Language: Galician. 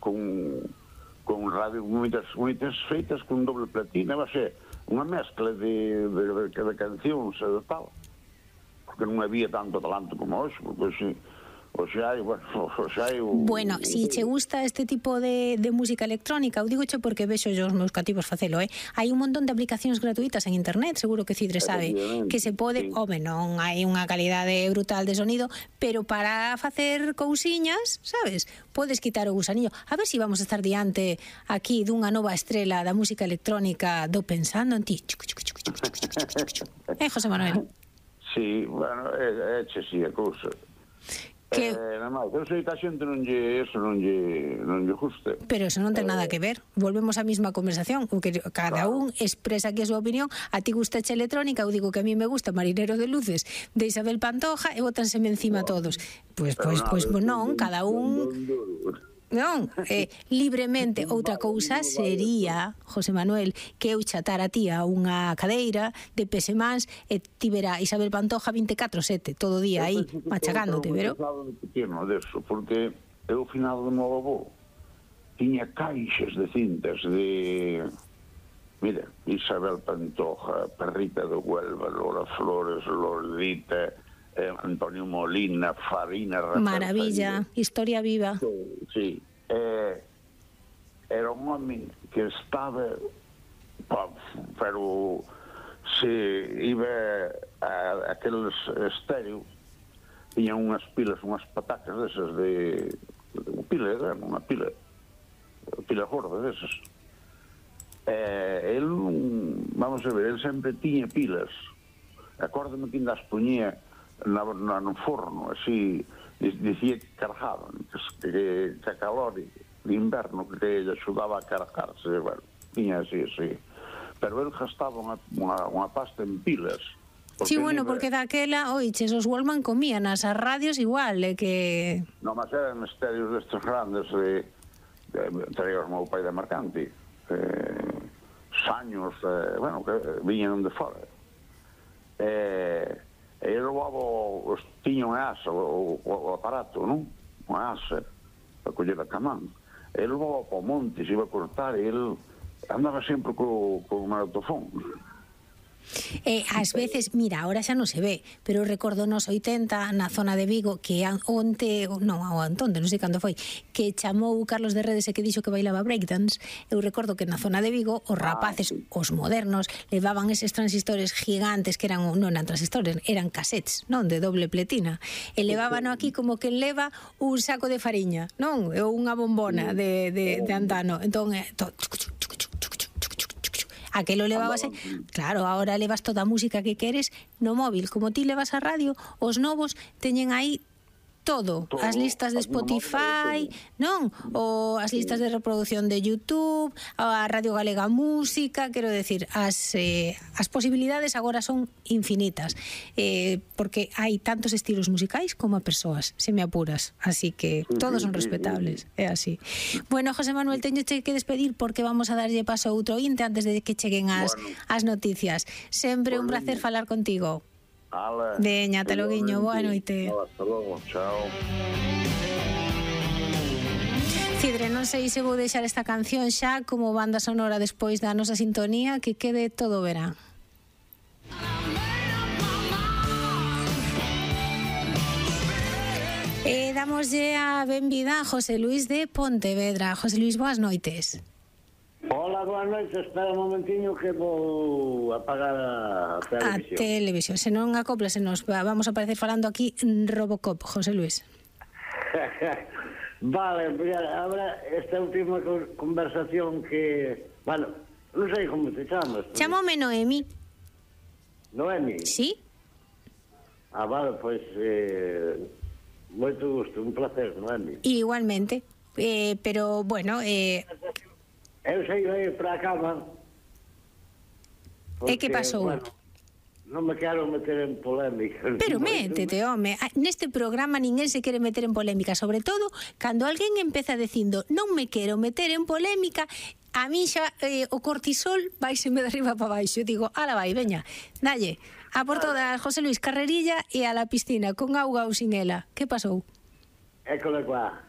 con radio, moitas feitas con doble platina, va ser unha mezcla de cancións e de tal, porque non había tanto talento como hoxe, porque hoxe hai, Bueno, si che gusta este tipo de música electrónica, eu digo che porque vexo os meus cativos facelo, hai un montón de aplicacións gratuitas en internet, seguro que Cidre sabe, que se pode, non hai unha calidade brutal de sonido, pero para facer cousiñas, sabes, podes quitar o gusanillo. A ver se vamos a estar diante aquí dunha nova estrela da música electrónica do Pensando en Ti. José Manuel? Sí, bueno, é sí a cousa. Pero sei que a xente non lle guste. Pero eso non ten nada que ver. Volvemos á mesma conversación, porque cada un expresa aquí a súa opinión. A ti gusta a electrónica, eu digo que a mí me gusta Marinero de Luces de Isabel Pantoja e bótanseme encima todos. Pois non, cada un... Non, libremente. Outra cousa sería, José Manuel, que eu chatara a ti a unha cadeira de pesemans e tivera Isabel Pantoja 24/7 todo o día aí machacándote, pero... Porque eu, ao final do meu avó, tiña caixas de cintas de... Mira, Isabel Pantoja, Perrita de Huelva, Lola Flores, Lordita, Antonio Molina, Farina, Rafael Maravilla, historia viva. Sí, era un home que estaba, pero se iba a aqueles estéreos, tiñan unhas pilas, unhas patacas desas de pila, unha pila gorda desas. El, vamos a ver, el sempre tiña pilas. Acórdame que ainda as poñía no forno, así, dicía que cargaban, que a calor de inverno que lle axudaba a cargarse, bueno, tiña así. Pero el gastaba unha pasta en pilas. Sí, bueno, porque daquela, oiches, os Wallman comían as radios igual, que... Non, mas eran estéreos destes grandes, traía o meu pai de Mercanti, saños, bueno, que viñan de fora. E logo tiña unha asa, o aparato, non? Unha asa para coller a camán. E logo ao monte se iba a cortar e ele andaba sempre co magnetofón. Ás veces, mira, ahora xa non se ve, pero recordo nos 80 na zona de Vigo que onte, non, non sei cando foi, que chamou Carlos de Redes e que dixo que bailaba breakdance. Eu recordo que na zona de Vigo os rapaces, os modernos, levaban eses transistores gigantes que eran, non eran transistores, eran cassettes, non, de doble pletina, e levábano aquí como que leva un saco de fariña, non, ou unha bombona de antano. Entón, aquelo levabase, claro, ahora levas toda a música que queres no móvil, como ti levas a radio, os novos teñen aí todo, as listas de Spotify, non? Ou as listas de reproducción de YouTube, a Radio Galega Música, quero decir, as posibilidades agora son infinitas, porque hai tantos estilos musicais como a persoas, se me apuras, así que todos son respetables, é así. Bueno, José Manuel, teño que despedir porque vamos a darlle paso a outro ointe antes de que cheguen as noticias. Sempre un placer falar contigo. Veña, ata loguiño, boa noite. Hasta logo, chao. Cidre, non sei se vou deixar esta canción xa como banda sonora despois da nosa sintonía, que quede todo verán. E damoslle a benvida a José Luis de Pontevedra. José Luis, boas noites. Hola, boas noites, espera un momentiño que vou apagar a televisión. A televisión, se non acoplas, vamos a aparecer falando aquí Robocop, José Luis. Vale, ahora esta última conversación que... Bueno, non sei como te chamas. Chámome Noemi. Noemi? Sí. Vale, pois... moito gusto, un placer, Noemi. Igualmente, pero, bueno... Eu sei ir para a cama. E que pasou? Bueno, non me quero meter en polémica. Pero métete, home. Neste programa ninguén se quere meter en polémica, sobre todo cando alguén empeza dicindo non me quero meter en polémica, a mí xa o cortisol vaiseme de arriba para baixo. Eu digo, ala vai, veña, dalle, a por todas, José Luis, carrerilla e a la piscina, con auga ou sin ela. Que pasou? École qua.